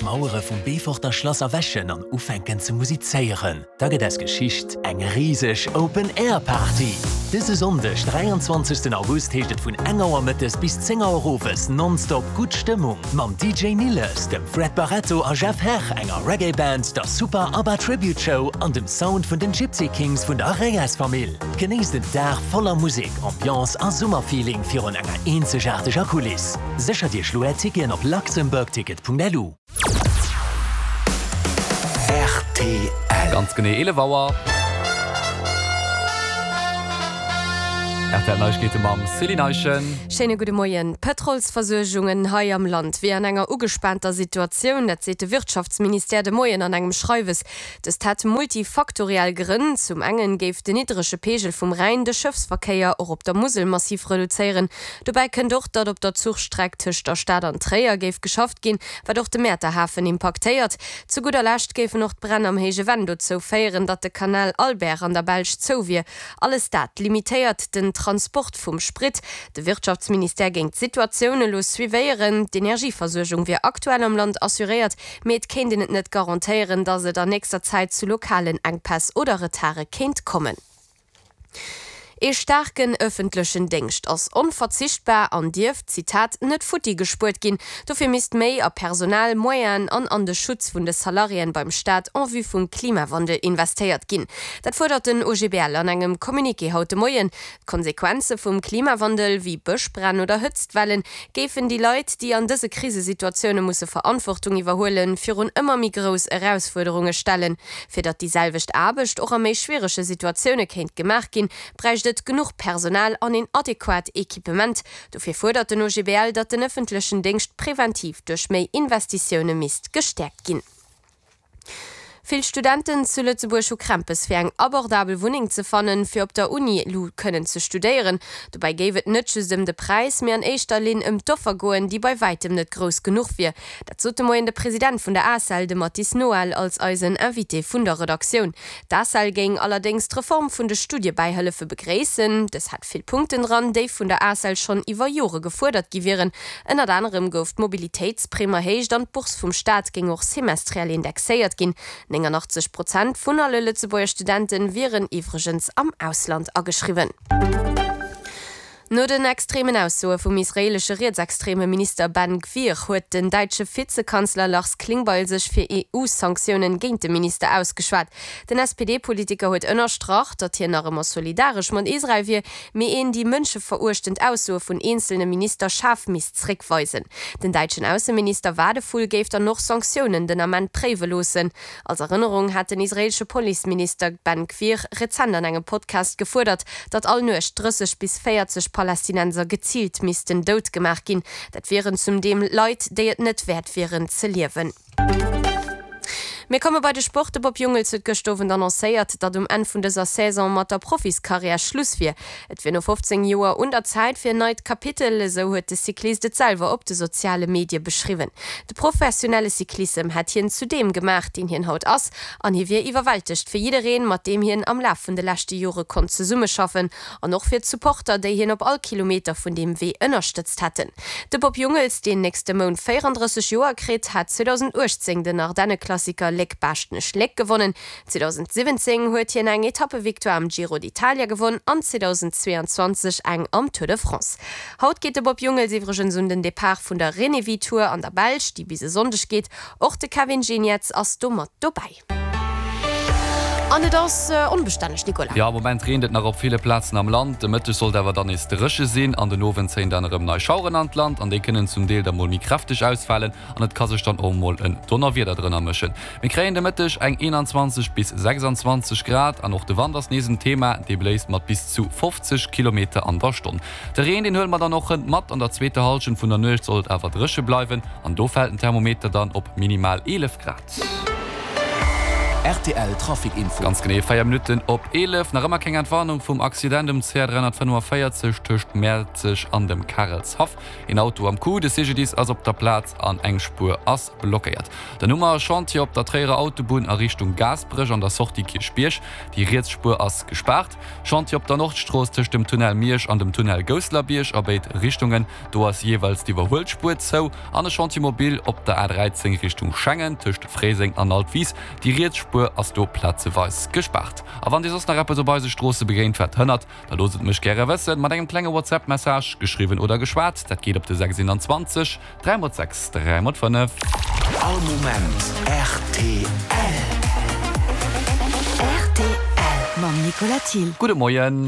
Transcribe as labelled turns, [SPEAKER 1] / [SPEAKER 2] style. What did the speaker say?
[SPEAKER 1] Mauere vum Beeforter Schlass erwächen an ufänken ze musizéieren, da gëtt aus Geschicht eng riseg Open Air Party! Dëse Sonndeg, 23 August heescht et vun eng Auer mëttes bis 10 Auer owes nonstop gutt Stëmmung mam DJ Nilles, dem Fred Barretto a Jeff Herr, enger Reggae Band, der Super Abba Tribute Show an dem Sound vun den Gipsy Kings vun der Reyes Famill. Genéisst en Dag voller Musek, Ambiance a Summerfeeling virun enger eenzegaarteger Kuliss. Séchert Iech lo Är Ticketen op luxembourgticket.lu.
[SPEAKER 2] Rtl. Ganz genee 11 Auer. Rtl Neiegkeete mam Céline Eischen.
[SPEAKER 3] Schéine gudde Moien. D'Pëtrolsversuergungen hei am Land wier an enger ugespaanter Situatioun. Dat seet de Wirtschaftsministère de Moien an engem Schreiwes. Dëst hätt multifaktoriell Grënn. Zum engen géif den niddrege Peegel vum Rhäin de Schëffsverkéier och op der Musel massiv reduzéieren. Dobäi kënnt och, datt op der Zuchstreck tëscht der Stad an Tréier géif geschafft ginn, wat och de Mäerter Hafen impaktéiert. Zu gudder Lescht géifen och d'Bränn am Héije Venn dozou féieren, datt de Kanal Albert an der Belsch zou wier. Alles dat limitéiert den Transport vum Sprit. De Wirtschaftsministère géing d'Situatioun elo suivéieren. D'Energieversuergung wier aktuell am Land assuréiert, mee et kéint een et net garantéieren, datt et an nächster Zäit zu lokalen Enkpäss oder Retarde kéint kommen. Ee staarken ëffentlechen Déngscht ass onverzichtbar an dierf, Zitat, net futti gespuert ginn. Dofir misst méi a Personal, Moyenen an an de Schutz vun de Salariéen beim Staat en vue vum Klimawandel investéiert ginn. Dat fuerdert den OGBL an engem Communiqué haut de Moien. D'Konsequenze vum Klimawandel, wéi Bëschbränn oder Hëtztwellen, géifen déi Leit, déi an dëse Krisesituatioune musse Verantwortung iwwerhuelen, virun ëmmer méi grouss Erausfuerderunge stellen. Fir datt déi selwecht Aarbecht och a méi schwierege Situatioune kéint gemaach ginn, bräicht et genuch Personal an een adequat Equipement. Dofir fuerdert den OGBL, datt den ëffentlechen Déngscht preventiv duerch méi Investitioune misst gestäerkt ginn. Vill Studenten zu Lëtzebuerg hu Krämpes fir eng abordabel Wunneng ze fannen, fir op der Uni lu kënnen ze studéieren. Dobäi géif et net just ëm de Präis, mee an éischter Linn ëm d'Offer goen, déi bei wäitem net grouss genuch wier. Dat sot de Moien de President vun der ACEL, de Mathis Noel, als eisen Invité vun der Redaktioun. D'ACEL géing allerdéngs d'Reform vun de Studiebäihëllefe begréissen. Dës hätt vill Punkten dran, déi vun der ACEL schonn iwwer Jore gefuerdert gi wieren. Ënnert anerem gouf d'Mobilitéitsprimm erhéicht an d'Bourse vum Staat géing och semestriell indexéiert ginn. 89 Prozent vun alle Lëtzebuerger Studente wieren iwwregens am Ausland ageschriwwen. No den extremen Aussoe vum israeelesche rietsextreme Minister Ben Gvir huet den däitsche Vizekanzler Lars Klingbeil sech fir EU-Sanktiounen géint de Minister ausgeschwat. Den SPD-Politiker huet ënnerstrach, datt hien nach ëmmer solidaresch mat Israel wier, mee een déi mënscheveruechtend Aussoe vun eenzelne Minister schaarf misst zréckweisen. Den däitschen Ausseminister Wadephul géif dann och Sanktiounen den Ament préiwe loossen. Als Erënnerung hat den israeelsche Policeminister Ben Gvir rezent an engem Podcast gefuerdert, datt all Nuecht 30 bis 40 Palästinenser geziilt missten dout gemaach ginn. Dat wieren zum Deem Leit, déi et net wäert wieren ze liewen. Mir komme bei de Sport. De Bob Jungels huet gëscht Owend annoncéiert, datt um Enn vun dëser Saison mat der Profiskarriär Schluss wier. Et wier no 15 Joer un der Zäit fir en neit Kapitel, esou huet de Cyclist et selwer op de soziale Medie beschriwwen. De professionelle Cyclissem hätt hien zu deem gemaach, deen hien haut ass, an hie wier iwwerwältegt fir jiddereen, mat deem hien am Laf vun de leschte Jore konnt zesummeschaffen an och fir d'Supporter, déi hien op all Kilometer vun deem Wee ënnerstëtzt hätten. De Bob Jungels, deen nächste Mount 34 Joer kritt, hat 2018 den Ardenneklassiker Léck-Baaschtnech-Léck gewonnen. 2017 huet hien eng Etappevictoire am Giro d'Italia gewonn an 2022 eng am Tour de France. Haut geet de Bob Jungels iwwregens un den Depart vun der Renewi Tour an der Belsch, déi bis e Sonndeg geet. Och de Kevin Geniets ass do mat dobäi. An et ass onbestänneg, Nicolas.
[SPEAKER 2] Jo, am Moment reent et nach op ville Plazen am Land. De Mëtteg sollt awer dann nees dréche sinn an den Owend zéien dann erëm nei Schaueren an d'Land an déi kënnen zum Deel da mol méi kräfteg ausfalen. an et ka sech dann och mol en Donnerwieder drënner mëschen. Mir kréien de Mëtteg eng 21 bis 26 Grad an och de Wand ass nees en Thema, dee bléist mat bis zu 50 Kilometer an der Stonn. De Reen, deen huele mer dann och hënt mat. An der zweeter Hallschent vun der Nuecht soll et awer dréche bleiwen an do fält den Thermometer dann op minimal 11 Grad.
[SPEAKER 1] Rtl Trafic Info.
[SPEAKER 2] Ganz genee 4 Minutten op 11. Nach ëmmer keng Entwarnung vum Accident um CR 345 tëscht Mäerzeg an dem Karelshaff. Een Auto am Coup, de CGDIS ass op der Plaz an eng Spuer ass blockéiert. Dann hu mer e Chantier op der Tréierer Autobunn a Richtung Gaasperech an der Sortie Kierchbierg. Déi riets Spuer ass gespaart. Chantier op der Nordstrooss tëscht dem Tunnel Miersch an dem Tunnel Gousselerbierg a béid Richtungen. Do ass jeeweils d'Iwwerhuelspuer zou. An e Chantier mobile op der A13 Richtung Schengen tëscht Fréiseng an Altwis. Déi riets Spuer ass do plazeweis gespaart. A wann Dir soss nach eppes op eise Stroosse begéint wat hënnert, da loosst et mech gäre wëssen mat engem klenge WhatsApp Message, geschriwwen oder geschwat. Dat geet op de 6 21 3 x 6 3 x 5.
[SPEAKER 1] All Moment rtl.
[SPEAKER 4] Rtl mam Nicolas Thill.
[SPEAKER 2] Gudde Moien.